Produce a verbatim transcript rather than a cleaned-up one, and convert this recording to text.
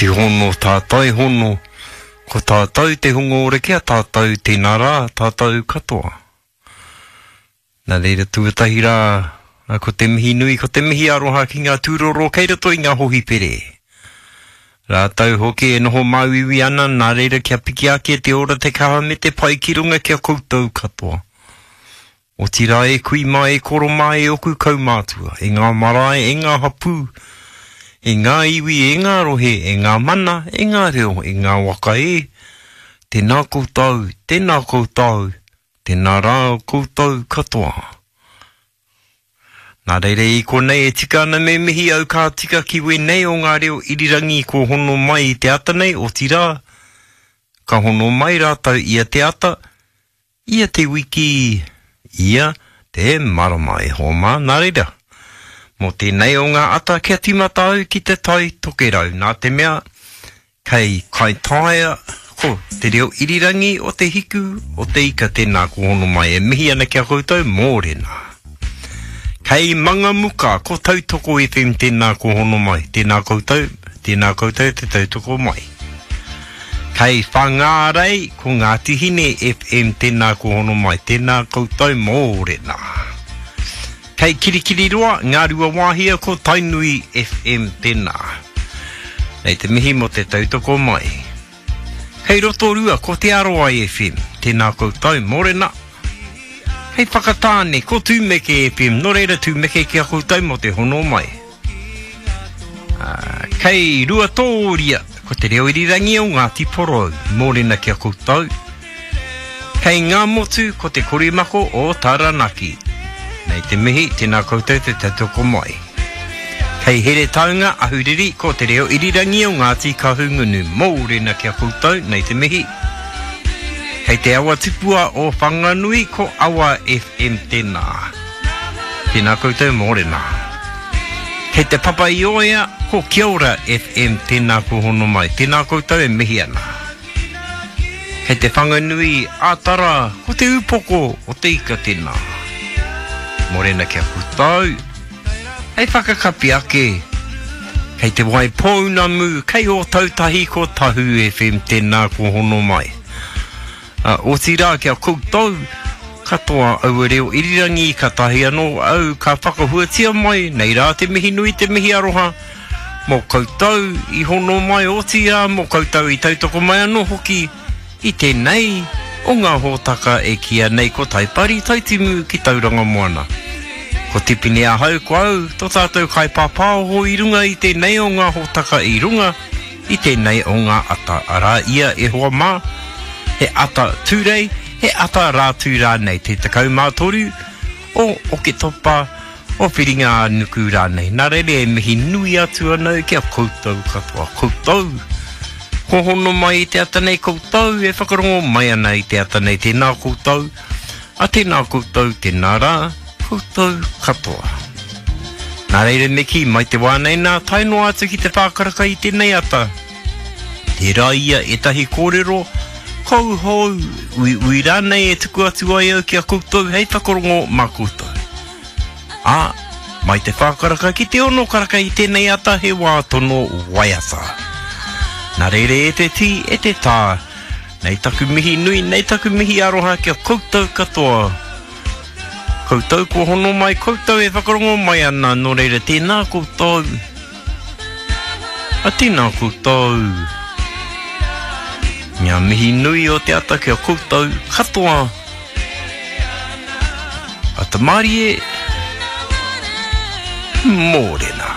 Tihono tātai hono, ko tātou te hunga ora ki a tātou, tēnā rā, tātou katoa. Nā reira tuatahi rā, ko te mihi nui, ko te mihi aroha ki ngā tūroro kei roto i ngā hohipere. Rātou hoki e noho māuiui ana, nā reira kia piki ake te ora te kaha me te pai ki runga kia koutou katoa. Otirā e kui mā, e koro mā, e oku kaumātua, e ngā marae, e ngā hapū, e ngā iwi, e ngā rohe, e ngā mana, e ngā reo, e ngā waka e, tēnā koutou, tēnā koutou, tēnā rā koutou katoa. Nā reira i konei e tika ana me mihi au ka tika ki wēnei o ngā reo irirangi ko hono mai i te ata nei, otirā, ka hono mai rātou ia te ata, ia te wiki, ia te marama e hoa mā, nā reira. Mō tēnei o ngā ata kia tīmata au ki te tai tokerau, nā te mea kei Kaitaia ko te reo irirangi o te hiku o te ika tēnā ko hono mai e mihi ana ki a koutou mōrena. Kei Mangamuka ko Tautoko F M tēnā ko hono mai, tēnā koutou, tēnā koutou te tautoko mai. Kei Whangārei ko Ngāti Hine F M tēnā ko hono mai, tēnā koutou mōrena. Kei Kirikiriroa, Ngā Ruawāhia ko Tainui F M tēnā. Nei te mihi mō te tautoko mai. Kei Rotorua ko Te Aroai F M, tēnā koutou mōrena. Hei Whakatāne ko Tūmeke F M, nō reira Tūmeke ki a koutou mō te hono mai. Uh, kei Ruatōria ko te reo irirangi o Ngāti Porou, mōrena ki a koutou. Kei Ngāmotu ko te korimako o Taranaki. Nei te mihi, tēnā koutou te tautoko mai. Kei Heretaunga, Ahuriri, ko te reo irirangi o Ngāti Kahungunu, mōrena ki a koutou, nei te mihi. Kei te awa tipua o Whanganui, ko Awa F M tēnā. Tēnā koutou mōrena. Kei te Papa i Oea, ko Kia Ora F M tēnā ko hono mai. Tēnā koutou e mihi ana. Kei te Whanganui ā-Tara, ko te upoko o te ika tēnā. Mōrena kia koutou. Hei whakakapi ake, kei te Waipounamu, kei Ōtautahi ko Tahu F M tēnā ko hono mai. Uh, otirā kia koutou, katoa aua reo irirangi, ka tahi anō au ka whakahuatia mai, nei rā te mihi nui te mihi aroha, mō koutou i hono mai, otirā mō koutou i tautoko mai anō hoki i tēnei o ngā hōtaka e kīia nei ko Taipari Taitimu ki Tauranga Moana. Ko Tipene ahau ko au, tō tātou kaipāpāoho i runga i tēnei o ngā hōtaka i runga i tēnei o ngā ata. Arā ia e hoa mā, he ata tūrei, he ata rātū rānei, te tekau mā toru o Oketopa, o Whiringa a Nuku rānei. Nā reira e mihi nui atu anau ki a koutou katoa. Koutou, ko hono mai i te ata nei koutou, e whakarongo mai ana i te ata nei, tēnā koutou, a tēnā koutou, tēnā rā, koutou katoa. Nā reira me kī, mai te wā nei nā, tae noa atu ki te whākaraka i tēnei ata. Tērā ia ētahi kōrero, kouhou, ui ui rānei e tuku atu ai au ki a koutou hei whakarongo mā koutou. Ā, mai te whākaraka ki te ono karaka i tēnei ata he wā tono waiata. Nā reira e te tī, e te tā, nei taku mihi nui, nei taku mihi aroha kia koutou katoa. Koutou ko hono mai, koutou e whakarongo mai ana, nō reira tēnā koutou. A tēnā koutou. Ngā mihi nui o te ata kia koutou katoa. A te marie, mōrena.